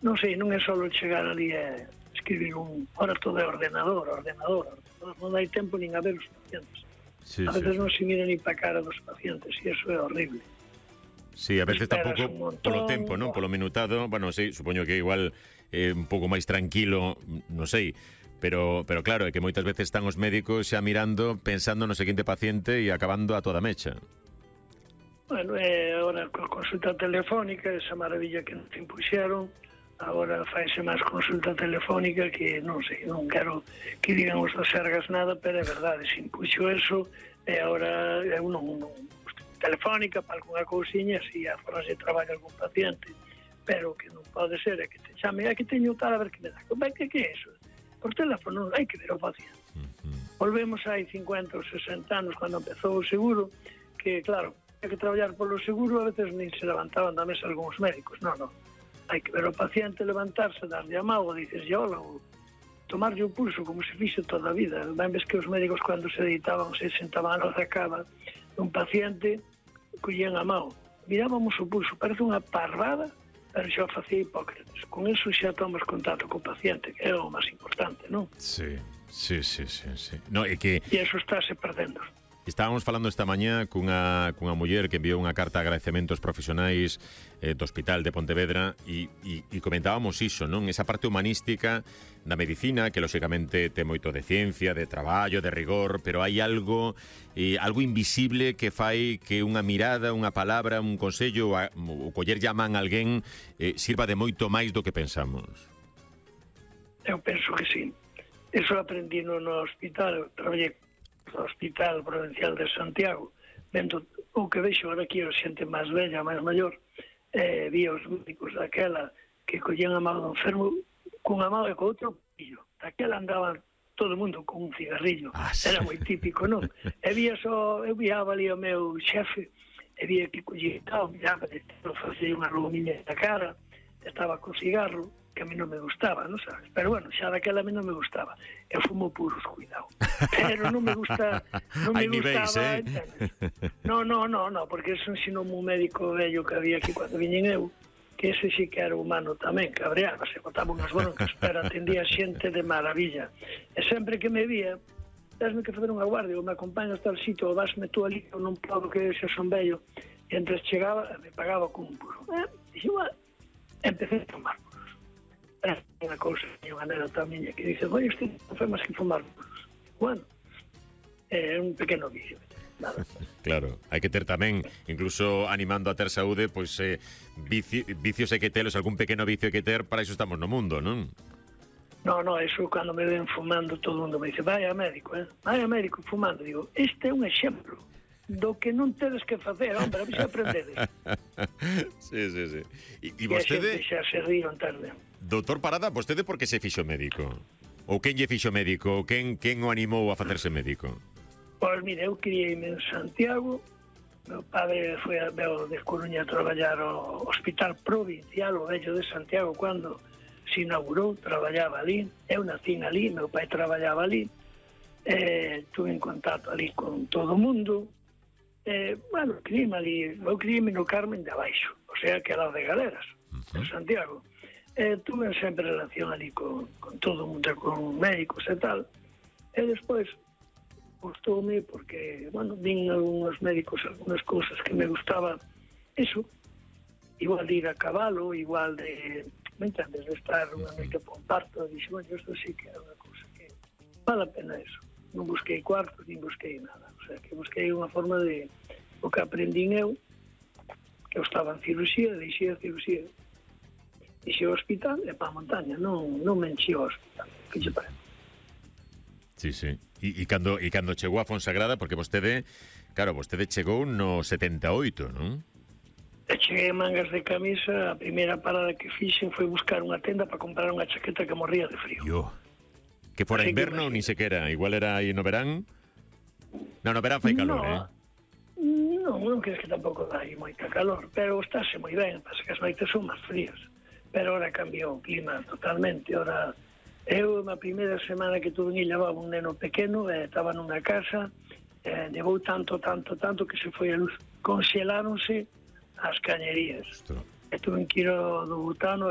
non sei, non é só chegar ali e escribir ahora todo é ordenador, non hai tempo nin a ver os pacientes. Sí, A veces non se mira ni para a cara dos pacientes e iso é horrible. Sí, a veces tampouco polo tempo, non? Polo minutado, bueno, sí, supoño que igual un pouco máis tranquilo, non sei, pero claro, é que moitas veces están os médicos xa mirando, pensando no seguinte paciente e acabando a toda mecha. Bueno, agora con consulta telefónica, esa maravilla que nos impuxeron, agora faise máis consulta telefónica que non sei, non quero que digan os das Sergas nada, pero é verdade, se impuxo eso, e agora eu non telefónica para alguna cousiña, si a forma se trabalha algún paciente, pero que non pode ser é que te chame, que teño tal, a ver que me dá. Que é iso? Por teléfono hai que ver o paciente. Volvemos hai 50 ou 60 anos, cando empezou o seguro, que claro, hai que traballar polo seguro, a veces nin se levantaban da mesa algúns médicos, non. Hai que ver o paciente, levantarse, darlle a mão, ou dices, hola, ou tomarlle o pulso, como se fixe toda a vida. Ben ves que os médicos, cando se deitaban, se sentaban a cama dun paciente, collían a mão, mirábamos o pulso, parece unha parvada, pero xa facía Hipócrates. Con eso xa tomamos contacto co paciente, que é o máis importante, non? Sí. No, é que... E eso estáse perdendo. Estábamos falando esta mañá cunha muller que enviou unha carta de agradecementos profesionais do Hospital de Pontevedra e comentábamos iso, non? Esa parte humanística da medicina que lóxicamente ten moito de ciencia, de traballo, de rigor, pero hai algo invisible que fai que unha mirada, unha palabra, un consello ou coller llaman a alguén sirva de moito máis do que pensamos. Eu penso que sí. Eso aprendí no hospital, traballei no Hospital Provincial de Santiago, vendo o que vexo ahora aquí a xente máis bella, máis maior, vi os médicos daquela que collían a mão do enfermo cunha mão e co outro pillo. Daquela andaban todo o mundo con un cigarrillo. Era moi típico, non? Eu viaba ali o meu xefe, e vía que collía, miraba, facía unha rumiña na cara, estaba co cigarro, que a mí non me gustaba, non sabes? Pero bueno, xa daquela a mí non me gustaba. Eu fumo puros, cuidado. Pero non me gusta, non me gustaba, No, porque eso ensinou un médico vello que había aquí cando viñen eu, que ese sí que era humano tamén, cabreaba, se botaba unhas broncas, pero atendía xente de maravilla. E sempre que me vía, dasme que fazer unha guardia, ou me acompañas tal sitio, ou dasme tú ali, ou non podo que xa son vello, e entres chegaba, me pagaba con un puro. Dixo, empecé a tomar puros. É unha cousa, unha anécdota miña que dice, oi, usted non foi máis que fumar puros. Bueno, é un pequeno vicio. Nada. Claro, hai que ter tamén, incluso animando a ter saúde, pois vicios hai que telos, algún pequeno vicio hai que ter, para iso estamos no mundo, non? No, eso cando me ven fumando todo o mundo me dice, vai a médico fumando. Digo, este é un exemplo do que non tedes que facer, hombre, a mí se aprendedes. Sí. E vostede... E xa se río en tarde. Doutor Parada, vostede por que se fixo médico? Ou quen lle fixo médico? Ou quen o animou a facerse médico? Pois mire, eu criei-me en Santiago, meu padre foi de Coruña a traballar ao Hospital Provincial, o vello de Santiago, cando se inaugurou, traballaba ali, eu nacín ali, meu pai traballaba ali, tuve en contacto ali con todo o mundo, bueno, eu criei-me no Carmen de Abaixo, o sea que era de Galeras, en Santiago. Tuve sempre relación ali con todo o mundo, con médicos e tal, e despois gustoume porque, bueno, vin algúns médicos, algunhas cousas que me gustaba, eso, igual de ir a cabalo, igual de, me entendes, de estar unha noite por parto, e dixo, bueno, isto sí que é unha cousa que vale a pena eso. Non busquei cuartos, nin busquei nada, o sea, que busquei unha forma de, o que aprendín eu, que eu estaba en cirurxía, deixei a cirurxía, deixei o hospital e para a montaña, non me enchi o hospital, que che parece? Sí. E cando chegou a Fonsagrada, porque vostede chegou no 78, non? E cheguei a mangas de camisa, a primeira parada que fixen foi buscar unha tenda para comprar unha chaqueta que morría de frío. Que fora inverno, ni sequera, igual era aí no verán? No verán fai calor, Non crees que tampouco dá aí moita calor, pero estáse moi ben, pasa que as noites son máis frías. Pero ahora cambiou o clima totalmente, ahora... Eu, na primeira semana que tuve en levaba un neno pequeno, estaba nunha casa, levou tanto que se foi a luz. Conxeláronse as cañerías. E tuve que ir do butano